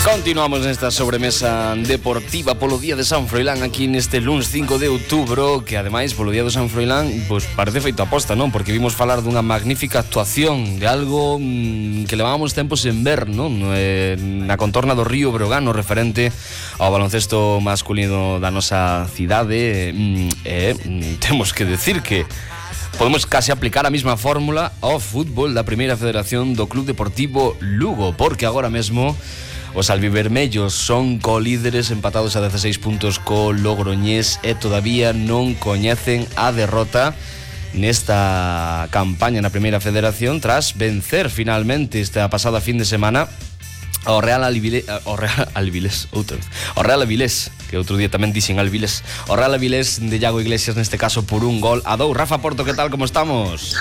Continuamos nesta sobremesa deportiva polo día de San Froilán aquí neste luns 5 de outubro, que ademais polo día de San Froilán pois parece feito aposta, non? Porque vimos falar dunha magnífica actuación de algo que levábamos tempos en ver, non? Na contorna do río Breogán, referente ao baloncesto masculino da nosa cidade. Temos que decir que podemos casi aplicar a mesma fórmula ao fútbol da Primeira Federación do Club Deportivo Lugo, porque agora mesmo os albivermellos son colíderes empatados a 16 puntos co Logroñés e todavía non coñecen a derrota nesta campaña na Primeira Federación tras vencer finalmente esta pasada fin de semana ao Real Avilés, que outro día tamén dixen Alvilés, o Real Avilés de Iago Iglesias, neste caso por 1-2. Rafa Porto, que tal, como estamos?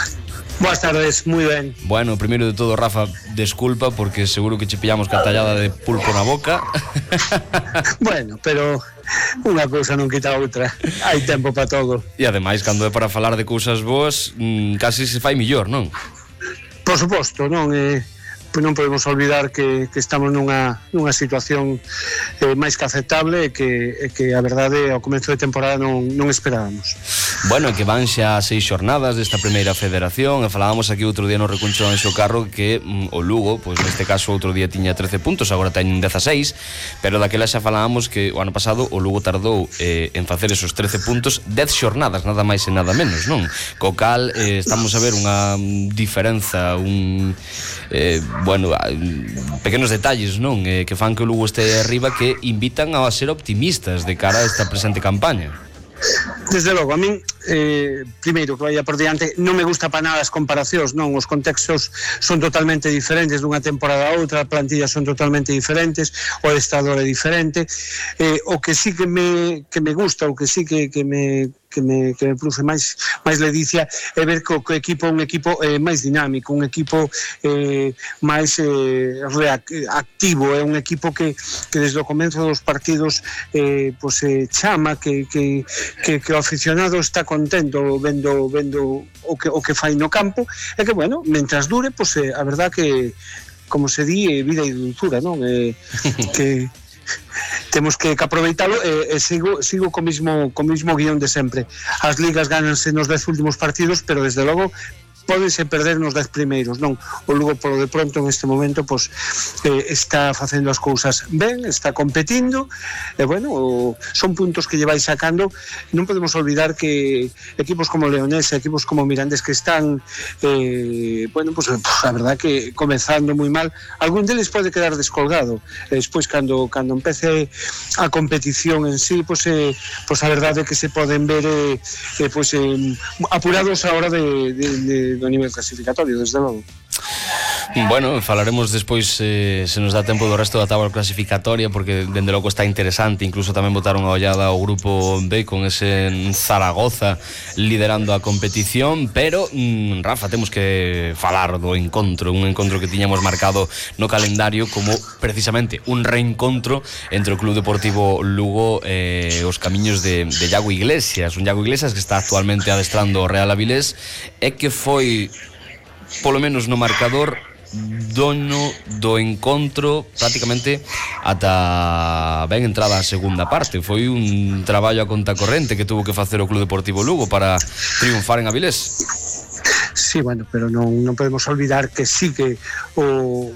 Buenas tardes, moi ben. Bueno, primeiro de todo, Rafa, desculpa porque seguro que che pillamos cartallada de pulpo na boca. Bueno, pero unha cousa non quita a outra. Hai tempo para todo. E ademais, cando é para falar de cousas boas, casi se fai mellor, non? Por suposto, non non podemos olvidar que estamos nunha situación máis que aceptable e que a verdade ao comezo de temporada non esperábamos. Bueno, que van xa 6 xornadas desta Primeira Federación e falábamos aquí outro día no recuncho do Anxo Carro que o Lugo, pois neste caso outro día tiña 13 puntos, agora teñen 16, pero daquela xa falábamos que o ano pasado o Lugo tardou en facer esos 13 puntos 10 xornadas, nada máis e nada menos, non? Co cal estamos a ver unha diferenza, pequenos detalles, non? Que fan que o Lugo este arriba, que invitan a ser optimistas de cara a esta presente campaña. Desde logo, a min primeiro que vaya por diante, non me gusta para nada as comparacións, non? Os contextos son totalmente diferentes dunha temporada a outra, as plantillas son totalmente diferentes, o adestrador é diferente. O que sí que me gusta, o que sí que me produce máis ledicia é ver que o equipo é un equipo máis dinámico, un equipo máis activo, é un equipo que desde o comenzo dos partidos chama, que o aficionado está contento vendo o que fai no campo, e que, bueno, mentras dure, a verdad que, como se di, vida e dulzura, non? Que temos que aproveitalo e sigo co mismo guión de sempre. As ligas gánanse nos 10 últimos partidos, pero desde logo pódense perder nos 10 primeiros, non? O Lugo, polo de pronto, neste momento, está facendo as cousas ben, está competindo, e, bueno, son puntos que lle vai sacando. Non podemos olvidar que equipos como Leonés, equipos como Mirandés, que están, a verdad que comezando moi mal, algún deles pode quedar descolgado. Despois, cando empece a competición en sí, a verdade é que se poden ver apurados a hora do nivel clasificatorio, desde logo. Bueno, falaremos despois se nos dá tempo do resto da táboa clasificatoria, porque dende logo está interesante. Incluso tamén botaron a ollada ao grupo B con ese Zaragoza liderando a competición. Pero, Rafa, temos que falar do encontro, un encontro que tiñamos marcado no calendario como precisamente un reencontro entre o Club Deportivo Lugo e os camiños de Iago Iglesias. Un Iago Iglesias que está actualmente adestrando o Real Avilés e que foi, polo menos no marcador, dono do encontro prácticamente ata ben entrada a segunda parte. Foi un traballo a conta corrente que tuvo que facer o Club Deportivo Lugo para triunfar en Avilés. Sí, bueno, pero non podemos olvidar que sí que o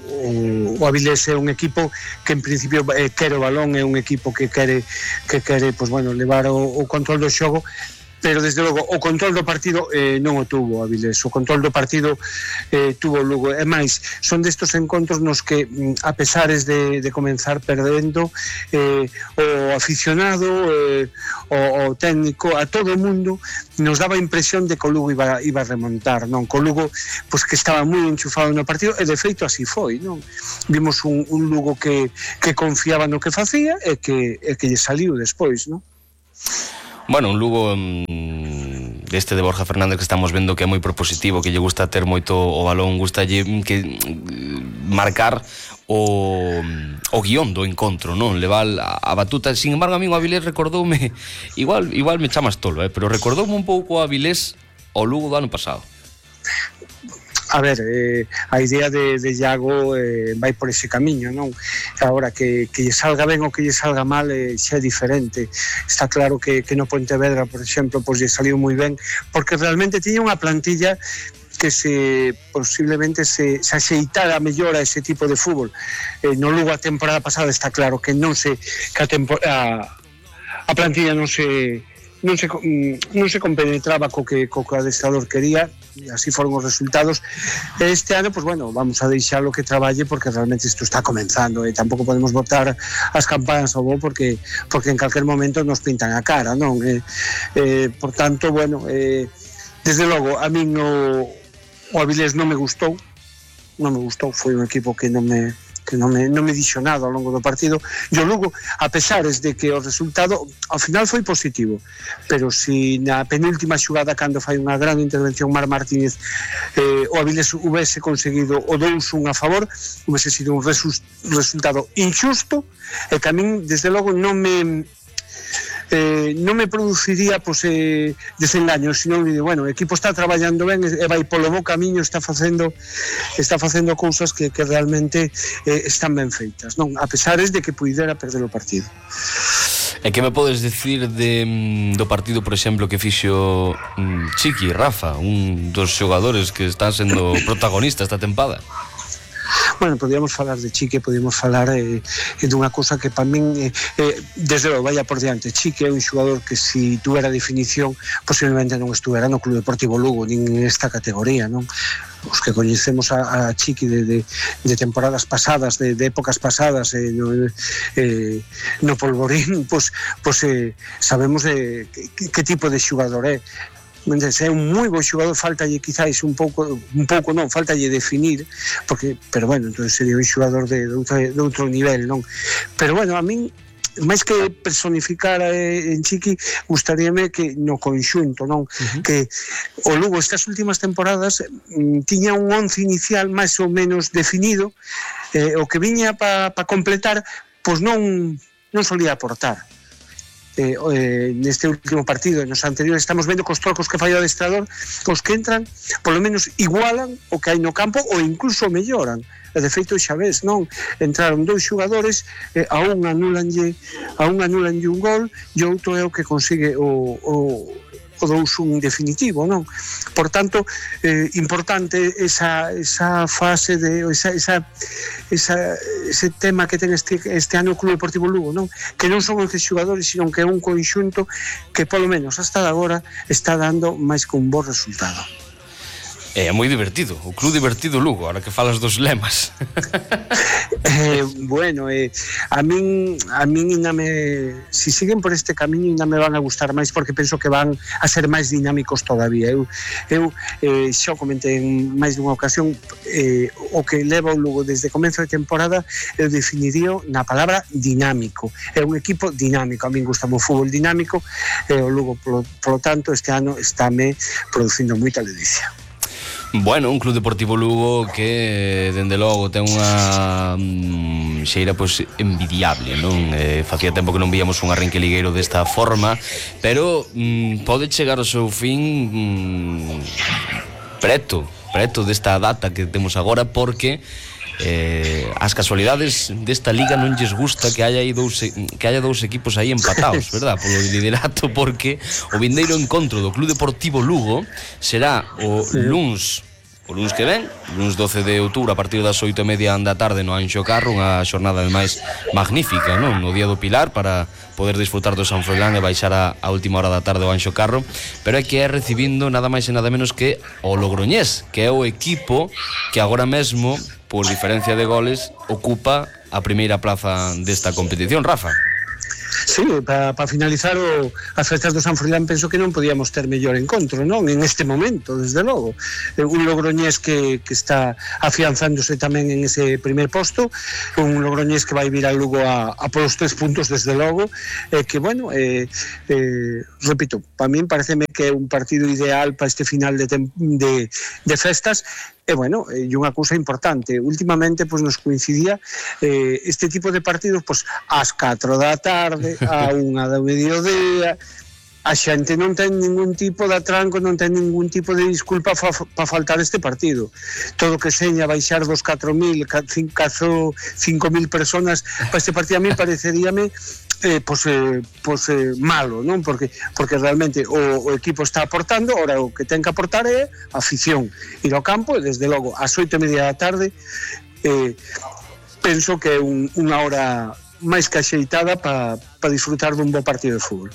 Avilés é un equipo que en principio quere o balón, é un equipo que quere levar o control do xogo, pero desde logo o control do partido non o tuvo Avilés. O control do partido tuvo o Lugo. E máis, son destos encontros nos que, a pesares de comenzar perdendo, o aficionado, o técnico, a todo o mundo nos daba a impresión de que o Lugo iba a remontar, non? Que o Lugo, que estaba moi enchufado no partido, e de feito así foi, non? Vimos un Lugo que confiaba no que facía e que lle saliu despois, non? Bueno, un Lugo deste de Borja Fernández que estamos vendo que é moi propositivo, que lle gusta ter moito o balón, gusta que marcar o guión do encontro, non? Levar a batuta. Sin embargo, a mí o Avilés recordoume, igual me chamas tolo, pero recordoume un pouco o Avilés ao Lugo do ano pasado. A ver, a idea de Iago vai por ese camiño, non? Agora, que lle salga ben ou que lle salga mal xa é diferente. Está claro que no Pontevedra, por exemplo, pois lle saliu moi ben, porque realmente tiña unha plantilla que posiblemente se axeitara mellor a ese tipo de fútbol. No Lugo a temporada pasada está claro que non se que a plantilla non se compenetraba co que o adestrador quería, e así foron os resultados. Este ano, pues bueno, vamos a deixalo que traballe, porque realmente isto está comenzando e tampouco podemos botar as campanas ao bo porque en calquer momento nos pintan a cara, non? Por tanto, bueno, desde logo a min o Avilés non me gustou, foi un equipo que non me dixo nada ao longo do partido. E o Lugo, a pesares de que o resultado ao final foi positivo, pero si na penúltima xugada, cando fai unha gran intervención Mar Martínez, o Avilés hubese conseguido o 2-1 a favor, hubese sido un resultado injusto, e que a min desde logo non me produciría desengaños, sino que, bueno, o equipo está traballando ben e vai polo bo camiño, está facendo cousas que realmente están ben feitas, non? A pesares de que puidera perder o partido. E que me podes decir do partido, por exemplo, que fixo Chiqui, Rafa, un dos xogadores que están sendo protagonistas esta tempada? Bueno, podíamos falar de Chique, podíamos falar dunha cousa que para min desde logo vaya por diante. Chique é un xogador que si tuvera definición posiblemente non estuvera no Club Deportivo Lugo nin nesta categoría, non? Os que coñecemos a Chiqui de temporadas pasadas, de épocas pasadas no Polvorín, pues sabemos que tipo de xogador é. É un moi bo xogador, faltalle quizáis un pouco non, faltalle definir, pero bueno, entonces sería un xogador de outro nivel, non? Pero bueno, a min máis que personificar en Chiqui, gustaríame que no conxunto, non? Que o Lugo estas últimas temporadas tiña un 11 inicial máis ou menos definido, o que viña para completar, pois non solía aportar. Neste último partido e nos anteriores estamos vendo que os trocos que fai o adestrador, os que entran polo menos igualan o que hai no campo ou incluso melloran. E de feito xa ves, non? Entraron dous xogadores, a un anulanlle un gol e outro é o que consigue o 2-1 definitivo, non? Por tanto, importante esa fase de ese tema que ten este ano o Club Deportivo Lugo, non? Que non son 11 xogadores, sino que é un conxunto que polo menos hasta agora está dando máis que un bo resultado. É moi divertido, o Club Divertido Lugo, ahora que falas dos lemas. Bueno, a min ainda si siguen por este camiño ainda me van a gustar máis, porque penso que van a ser máis dinámicos todavía. Eu xa comentei en máis dunha ocasión, o que leva o Lugo desde comezo de temporada eu definiría na palabra dinámico. É un equipo dinámico, a min gusta o fútbol dinámico, e o Lugo polo tanto este ano estáme producindo moita ledicia. Bueno, un Club Deportivo Lugo que, dende logo, ten unha xeira pois envidiable, non? Facía tempo que non víamos un arranque ligueiro desta forma, pero pode chegar ao seu fin preto desta data que temos agora, porque as casualidades desta liga non lles gusta que haya dous equipos aí empatados, verdad? Polo liderato, porque o vindeiro encontro do Club Deportivo Lugo será o luns que ven, luns 12 de outubro, a partir das 8:30 da tarde no Anxo Carro, unha xornada ademais magnífica, non? No día do Pilar, para poder disfrutar do San Froilán e baixar a última hora da tarde ao Anxo Carro, pero é que é recibindo nada máis e nada menos que o Logroñés, que é o equipo que agora mesmo, por diferencia de goles, ocupa a primeira plaza desta competición, Rafa. Sí, para finalizar as festas do San Froilán, penso que non podíamos ter mellor encontro, non? En este momento, desde logo. Un Logroñés que está afianzándose tamén en ese primer posto, un Logroñés que vai vir a Lugo a polos 3 puntos, desde logo, que, bueno, repito, para min pareceme que é un partido ideal para este final de festas. E, bueno, e unha cousa importante, últimamente pues, nos coincidía este tipo de partidos pues, ás 4 da tarde, a 1 da mediodía, a xente non ten ningún tipo de atranco, non ten ningún tipo de disculpa para faltar este partido. Todo que seña baixar dos 4.000, 5.000 personas para este partido a mí pareceríame malo, non? Porque realmente o equipo está aportando, ora o que ten que aportar é a afición, ir ao campo e desde logo ás 8:30 da tarde penso que é unha hora máis que axeitada para disfrutar dun bo partido de fútbol.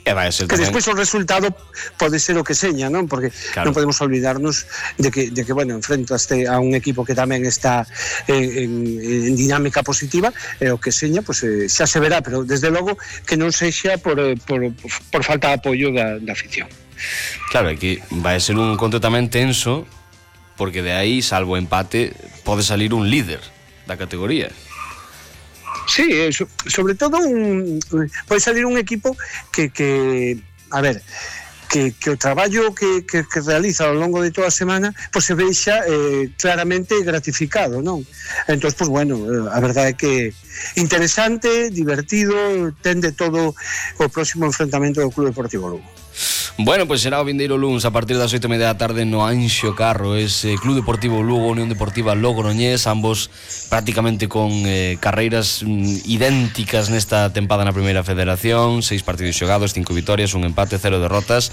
Que despois o resultado pode ser o que seña, non? Porque non podemos olvidarnos de que bueno, enfrentaste a un equipo que tamén está en dinámica positiva, e o que seña, pues, xa se verá, pero desde logo que non sexa por falta de apoio da afición. Claro, aquí vai ser un conto tamén tenso, porque de aí, salvo empate, pode salir un líder da categoría. Sí, sobre todo pode salir un equipo que a ver, que o traballo que realiza ao longo de toda a semana pues se vexa claramente gratificado, non? Entón, pues bueno, a verdade é que interesante, divertido, ten de todo o próximo enfrentamento do Club Deportivo Lugo. Bueno, pues será o vindeiro luns a partir das 8:30 da tarde no Anxo Carro, ese Club Deportivo Lugo, Unión Deportiva Logroñés, ambos prácticamente con carreiras idénticas nesta tempada na Primeira Federación, 6 partidos xogados, 5 vitorias, un empate, 0 derrotas.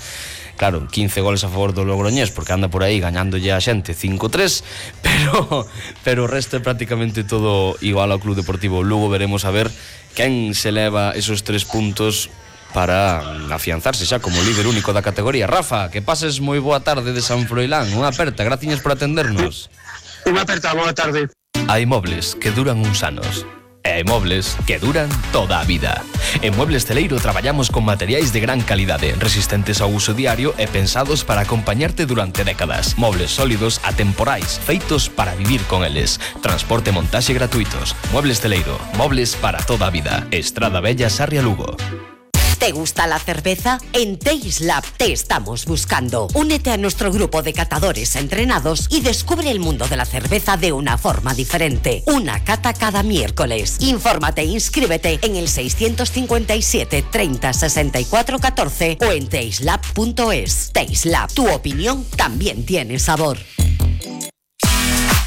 Claro, 15 goles a favor do Logroñés, porque anda por aí gañándolle a xente 5-3, pero o resto é prácticamente todo igual ao Club Deportivo Lugo. Veremos a ver quen se leva esos 3 puntos para afianzarse xa como líder único da categoría. Rafa, que pases moi boa tarde de San Froilán. Unha aperta, graciñas por atendernos. Unha aperta, boa tarde. Hai mobles que duran uns anos e hai mobles que duran toda a vida. En Muebles Celeiro traballamos con materiais de gran calidade, resistentes ao uso diario e pensados para acompañarte durante décadas. Mobles sólidos, atemporais, feitos para vivir con eles. Transporte e montaxe gratuitos. Muebles Celeiro, mobles para toda a vida. Estrada Bella, Sarria, Lugo. ¿Te gusta la cerveza? En Taste Lab te estamos buscando. Únete a nuestro grupo de catadores entrenados y descubre el mundo de la cerveza de una forma diferente. Una cata cada miércoles. Infórmate e inscríbete en el 657 30 64 14 o en tasteLab.es. Taste Lab, tu opinión también tiene sabor.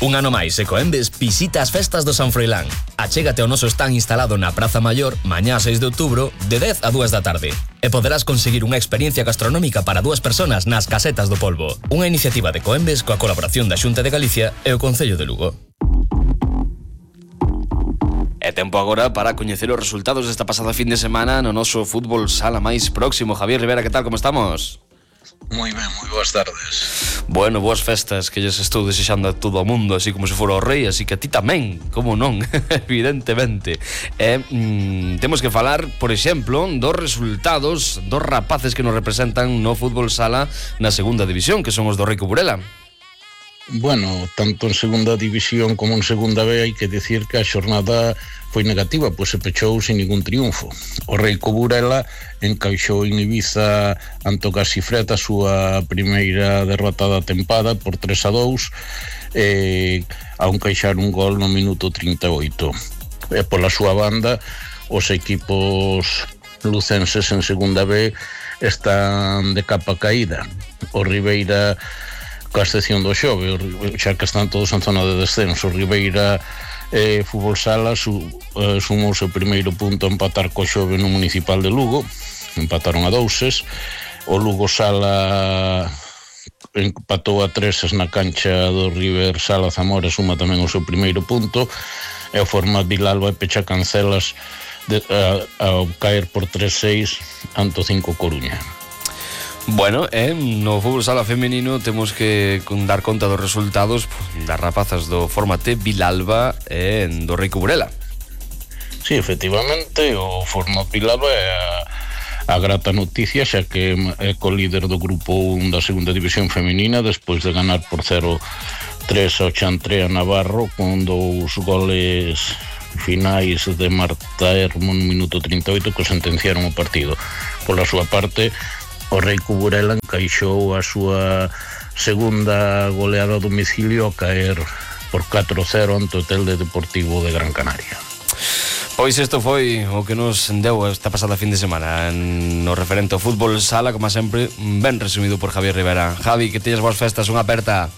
Un ano máis e Coembes visita as festas do San Froilán. Achégate ao noso stand instalado na Praza Maior mañá 6 de outubro de 10 a 2 da tarde e poderás conseguir unha experiencia gastronómica para 2 personas nas Casetas do Polvo. Unha iniciativa de Coembes coa colaboración da Xunta de Galicia e o Concello de Lugo. É tempo agora para coñecer os resultados desta pasada fin de semana no noso fútbol sala máis próximo. Javier Rivera, que tal, como estamos? Moi ben, moi boas tardes. Bueno, boas festas que lles estou desexando a todo o mundo, así como se fora o rei, así que a ti tamén, como non, evidentemente. Temos que falar, por exemplo, dos resultados dos rapaces que nos representan no fútbol sala na segunda división, que son os do Rico Burela. Bueno, tanto en segunda división como en segunda B hai que decir que a xornada foi negativa, pois se pechou sin ningún triunfo. O Rico Burela encaixou en Ibiza ante o Casifret a súa primeira derrota da tempada por 3-2 ao encaixar un gol no minuto 38. E pola súa banda, os equipos lucenses en segunda B están de capa caída. O Ribeira, coa excepción do Xove, xa que están todos en zona de descenso, o Ribeira Fútbol Sala sumou o seu primeiro punto a empatar co Xove no Municipal de Lugo, empataron a 2. O Lugo Sala empatou a 3 na cancha do River Sala Zamora, suma tamén o seu primeiro punto, e o Format Vilalba e Pecha Cancelas ao caer por 3-6 ante o 5 Coruña. Bueno, no fútbol sala femenino temos que dar conta dos resultados das rapazas do Fórmate Vilalba e do Rico Burela. Sí, efectivamente, o Format Vilalba é a grata noticia, xa que é co-líder do grupo 1 da segunda división femenina, despois de ganar por 0-3 ao Chantre a Navarro, con 2 goles finais de Marta Hermo no minuto 38 que sentenciaron o partido. Pola súa parte, o Rico Burela encaixou a súa segunda goleada a domicilio a caer por 4-0 ante o Telde Deportivo de Gran Canaria. Pois isto foi o que nos deu esta pasada fin de semana no referente ao fútbol sala, como sempre, ben resumido por Javier Rivera. Javi, que tienes boas festas, unha aperta.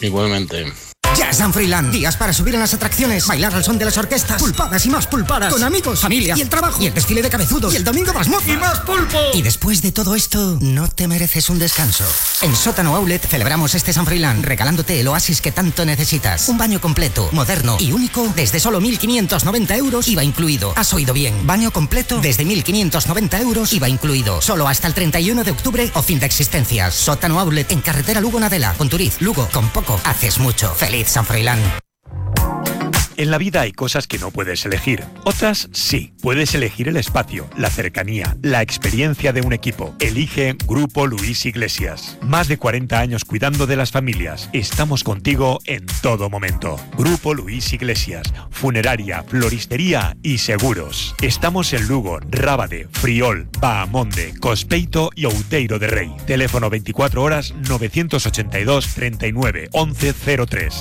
Igualmente. Ya es San Froilán. Días para subir en las atracciones, bailar al son de las orquestas, pulpadas y más pulpadas, con amigos, familia y el trabajo, y el desfile de cabezudos, y el domingo más moza, y más pulpo. Y después de todo esto, ¿no te mereces un descanso? En Sótano Outlet celebramos este San Froilán regalándote el oasis que tanto necesitas. Un baño completo, moderno y único desde solo 1.590 euros, IVA incluido. Has oído bien, baño completo desde 1.590 euros, IVA incluido. Solo hasta el 31 de octubre o fin de existencias. Sótano Outlet en carretera Lugo-Nadela, Conturiz, Lugo. Con poco haces mucho. ¡Feliz San Froilán! En la vida hay cosas que no puedes elegir. Otras sí. Puedes elegir el espacio, la cercanía, la experiencia de un equipo. Elige Grupo Luis Iglesias. Más de 40 años cuidando de las familias. Estamos contigo en todo momento. Grupo Luis Iglesias. Funeraria, floristería y seguros. Estamos en Lugo, Rábade, Friol, Bahamonde, Cospeito y Outeiro de Rei. Teléfono 24 horas 982 39 11 03.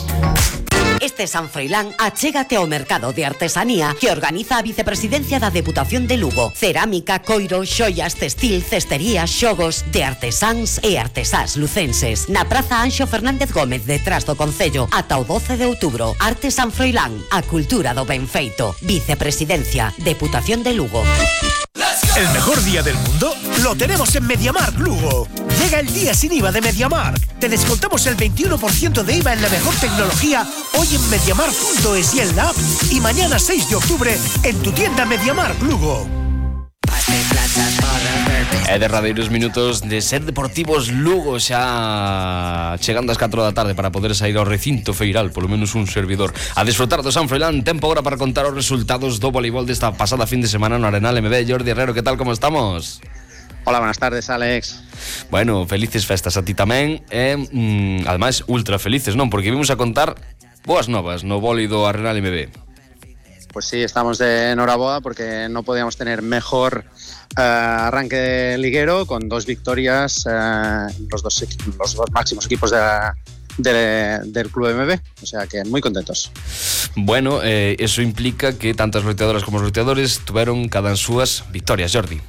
Este San Froilán achégate ao mercado de artesanía que organiza a Vicepresidencia da Deputación de Lugo. Cerámica, coiro, xoias, textil, cestería, xogos de artesáns e artesás lucenses. Na Praza Anxo Fernández Gómez, detrás do Concello, ata o 12 de outubro. Arte San Froilán, a cultura do ben feito. Vicepresidencia, Deputación de Lugo. El mejor día del mundo lo tenemos en MediaMarkt Lugo. Llega el día sin IVA de MediaMarkt. Te descontamos el 21% de IVA en la mejor tecnología hoy en MediaMarkt.es y en la app. Y mañana 6 de octubre en tu tienda MediaMarkt Lugo. E derradeiros minutos de Ser Deportivos Lugo, xa chegando ás 4 da tarde para poder sair ao recinto feiral, polo menos un servidor, a desfrutar do San Froilán. Tempo agora para contar os resultados do voleibol desta pasada fin de semana no Arenal MB. Jordi Herrero, que tal, como estamos? Hola, buenas tardes, Alex. Bueno, felices festas a ti tamén e, ademais, ultra felices, non? Porque vimos a contar boas novas no vólei do Arenal MB. Pues sí, estamos de enhorabuena porque no podíamos tener mejor arranque liguero con 2 victorias, los dos máximos equipos del Club MB, o sea que muy contentos. Bueno, eso implica que tantas loiteadoras como os loiteadores tuvieron cada en súas victorias, Jordi.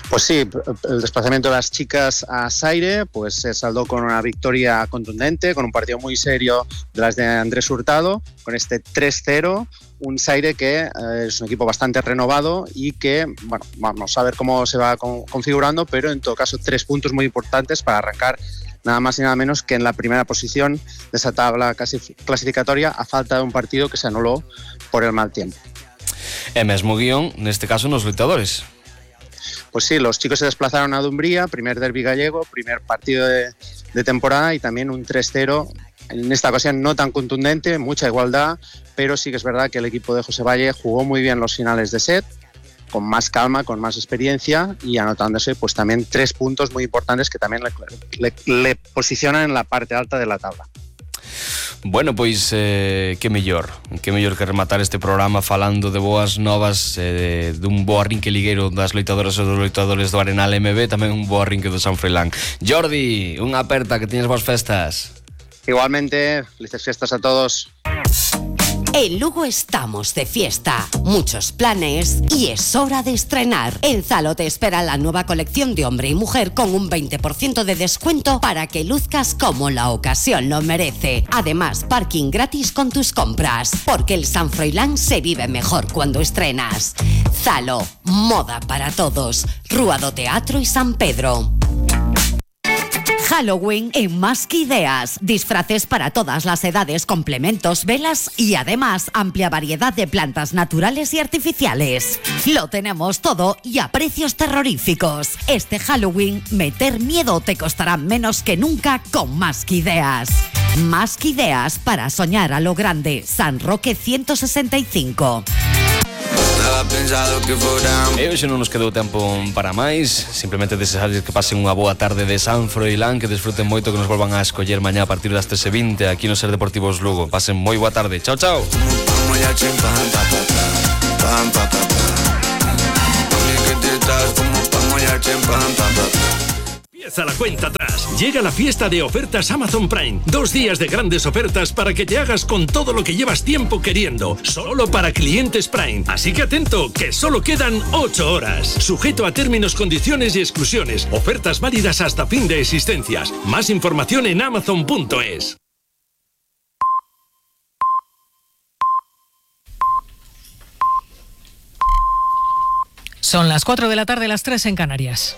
Pues sí, el desplazamiento de las chicas a Saire pues se saldó con una victoria contundente, con un partido muy serio de las de Andrés Hurtado, con este 3-0, un Saire que es un equipo bastante renovado y que, bueno, vamos a ver cómo se va configurando, pero en todo caso 3 puntos muy importantes para arrancar nada más y nada menos que en la primera posición de esa tabla casi clasificatoria a falta de un partido que se anuló por el mal tiempo. E mesmo guión, neste caso, nos loitadores. Pues sí, los chicos se desplazaron a Dumbría, primer derbi gallego, primer partido de temporada y también un 3-0, en esta ocasión no tan contundente, mucha igualdad, pero sí que es verdad que el equipo de José Valle jugó muy bien los finales de set, con más calma, con más experiencia y anotándose pues también 3 puntos muy importantes que también le posicionan en la parte alta de la tabla. Bueno, pois que mellor que rematar este programa falando de boas novas, dun bo arrinque ligueiro das loitadoras e dos loitadores do Arenal MB, tamén un bo arrinque do San Froilán. Jordi, unha aperta, que teñas boas festas. Igualmente, felices fiestas a todos. En Lugo estamos de fiesta, muchos planes y es hora de estrenar. En Zalo te espera la nueva colección de hombre y mujer con un 20% de descuento para que luzcas como la ocasión lo merece. Además, parking gratis con tus compras, porque el San Froilán se vive mejor cuando estrenas. Zalo, moda para todos. Rúa do Teatro y San Pedro. Halloween en Más que Ideas. Disfraces para todas las edades, complementos, velas y además amplia variedad de plantas naturales y artificiales. Lo tenemos todo y a precios terroríficos. Este Halloween, meter miedo te costará menos que nunca con Más que Ideas. Más que Ideas para soñar a lo grande. San Roque 165. E hoxe non nos quedou tempo para máis. Simplemente desexarles que pasen unha boa tarde de San Froilán, que desfruten moito, que nos volvan a escoller mañá a partir das 13:20 aquí no Ser Deportivos Lugo. Pasen moi boa tarde. Chao, chao. Empieza la cuenta atrás. Llega la fiesta de ofertas Amazon Prime. 2 días de grandes ofertas para que te hagas con todo lo que llevas tiempo queriendo. Solo para clientes Prime. Así que atento, que solo quedan 8 horas. Sujeto a términos, condiciones y exclusiones. Ofertas válidas hasta fin de existencias. Más información en amazon.es. Son las 4 de la tarde, las 3 en Canarias.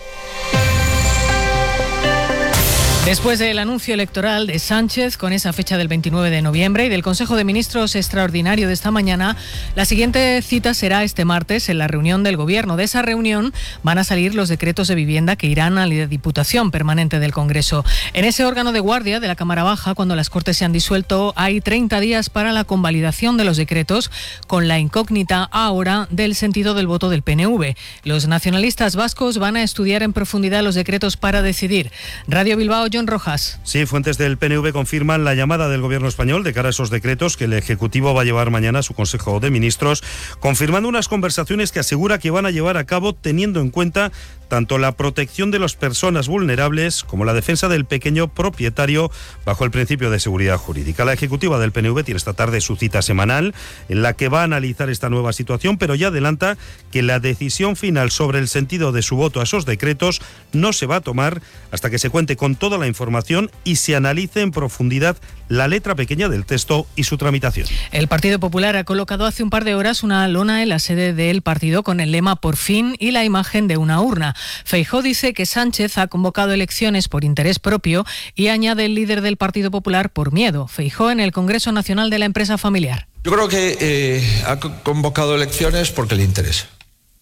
Después del anuncio electoral de Sánchez con esa fecha del 29 de noviembre y del Consejo de Ministros extraordinario de esta mañana, la siguiente cita será este martes en la reunión del Gobierno. De esa reunión van a salir los decretos de vivienda que irán a la Diputación Permanente del Congreso. En ese órgano de guardia de la Cámara Baja, cuando las Cortes se han disuelto, hay 30 días para la convalidación de los decretos, con la incógnita ahora del sentido del voto del PNV. Los nacionalistas vascos van a estudiar en profundidad los decretos para decidir. Radio Bilbao, John Rojas. Sí, fuentes del PNV confirman la llamada del Gobierno español de cara a esos decretos que el Ejecutivo va a llevar mañana a su Consejo de Ministros, confirmando unas conversaciones que asegura que van a llevar a cabo teniendo en cuenta tanto la protección de las personas vulnerables como la defensa del pequeño propietario bajo el principio de seguridad jurídica. La ejecutiva del PNV tiene esta tarde su cita semanal en la que va a analizar esta nueva situación, pero ya adelanta que la decisión final sobre el sentido de su voto a esos decretos no se va a tomar hasta que se cuente con toda la información y se analice en profundidad la letra pequeña del texto y su tramitación. El Partido Popular ha colocado hace un par de horas una lona en la sede del partido con el lema "Por fin" y la imagen de una urna. Feijóo dice que Sánchez ha convocado elecciones por interés propio y añade el líder del Partido Popular por miedo. Feijóo en el Congreso Nacional de la Empresa Familiar. Yo creo que ha convocado elecciones porque le interesa.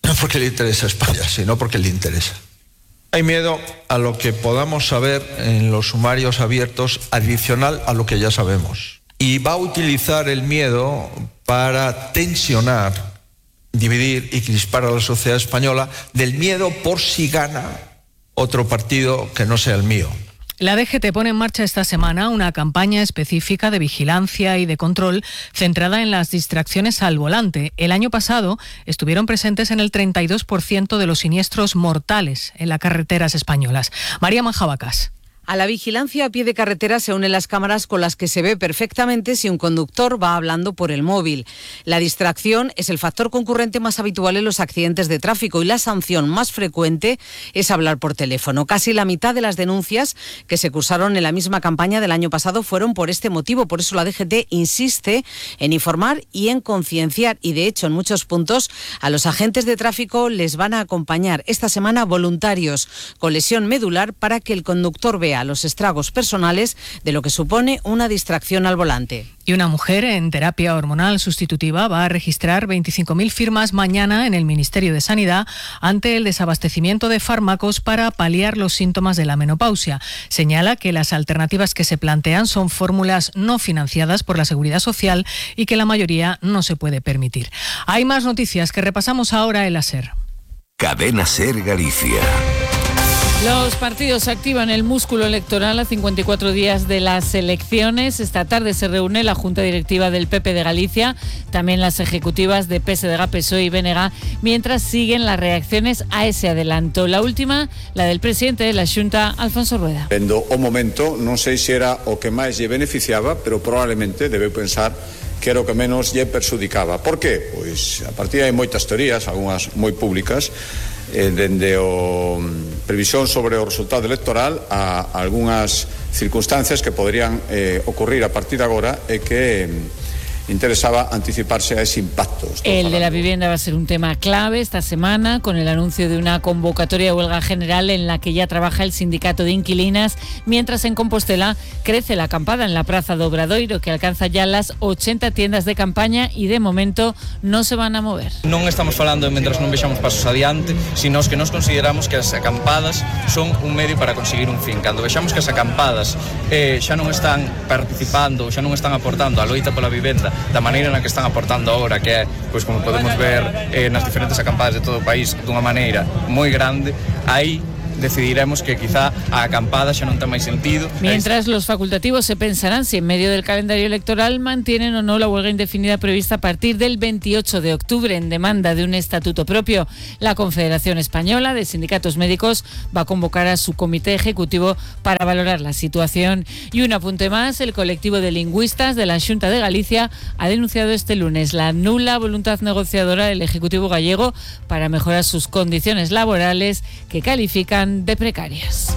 No porque le interesa a España, sino porque le interesa. Hay miedo a lo que podamos saber en los sumarios abiertos adicional a lo que ya sabemos. Y va a utilizar el miedo para tensionar, dividir y crispar a la sociedad española del miedo por si gana otro partido que no sea el mío. La DGT pone en marcha esta semana una campaña específica de vigilancia y de control centrada en las distracciones al volante. El año pasado estuvieron presentes en el 32% de los siniestros mortales en las carreteras españolas. María Manjabacas. A la vigilancia a pie de carretera se unen las cámaras con las que se ve perfectamente si un conductor va hablando por el móvil. La distracción es el factor concurrente más habitual en los accidentes de tráfico y la sanción más frecuente es hablar por teléfono. Casi la mitad de las denuncias que se cursaron en la misma campaña del año pasado fueron por este motivo. Por eso la DGT insiste en informar y en concienciar y, de hecho, en muchos puntos a los agentes de tráfico les van a acompañar esta semana voluntarios con lesión medular para que el conductor vea los estragos personales de lo que supone una distracción al volante. Y una mujer en terapia hormonal sustitutiva va a registrar 25.000 firmas mañana en el Ministerio de Sanidad ante el desabastecimiento de fármacos para paliar los síntomas de la menopausia. Señala que las alternativas que se plantean son fórmulas no financiadas por la Seguridad Social y que la mayoría no se puede permitir. Hay más noticias que repasamos ahora en la SER. Cadena SER Galicia. Los partidos activan el músculo electoral a 54 días de las elecciones. Esta tarde se reúne la Junta Directiva del PP de Galicia, también las ejecutivas de PSDG, PSOE y BNG, mientras siguen las reacciones a ese adelanto. La última, la del presidente de la Xunta, Alfonso Rueda. Vendo o momento, non sei se era o que máis lle beneficiaba, pero probablemente debe pensar que era o que menos lle perxudicaba. Por qué? Pois a partir hai moitas teorías, algunhas moi públicas, dende o previsión sobre o resultado electoral a algunhas circunstancias que poderían ocurrir a partir de agora e que interesaba anticiparse a ese impacto. El de la vivienda va a ser un tema clave esta semana, con el anuncio de una convocatoria de huelga general en la que ya trabaja el sindicato de inquilinas, mientras en Compostela crece la acampada en la Praza do Obradoiro, que alcanza ya las 80 tiendas de campaña y de momento no se van a mover. Non estamos falando de mentras non vexamos pasos adiante, sino que nos consideramos que as acampadas son un medio para conseguir un fin. Cando vexamos que as acampadas xa non están participando, xa non están aportando a loita pola vivenda da maneira na que están aportando agora, que é, pois como podemos ver nas diferentes acampadas de todo o país, dunha maneira moi grande, aí decidiremos que quizá a acampada xa non ten máis sentido. Mientras los facultativos se pensarán si en medio del calendario electoral mantienen o no la huelga indefinida prevista a partir del 28 de octubre en demanda de un estatuto propio. La Confederación Española de Sindicatos Médicos va a convocar a su comité ejecutivo para valorar la situación. Y un apunte más, el colectivo de lingüistas de la Xunta de Galicia ha denunciado este lunes la nula voluntad negociadora del Ejecutivo gallego para mejorar sus condiciones laborales, que califican de precarias.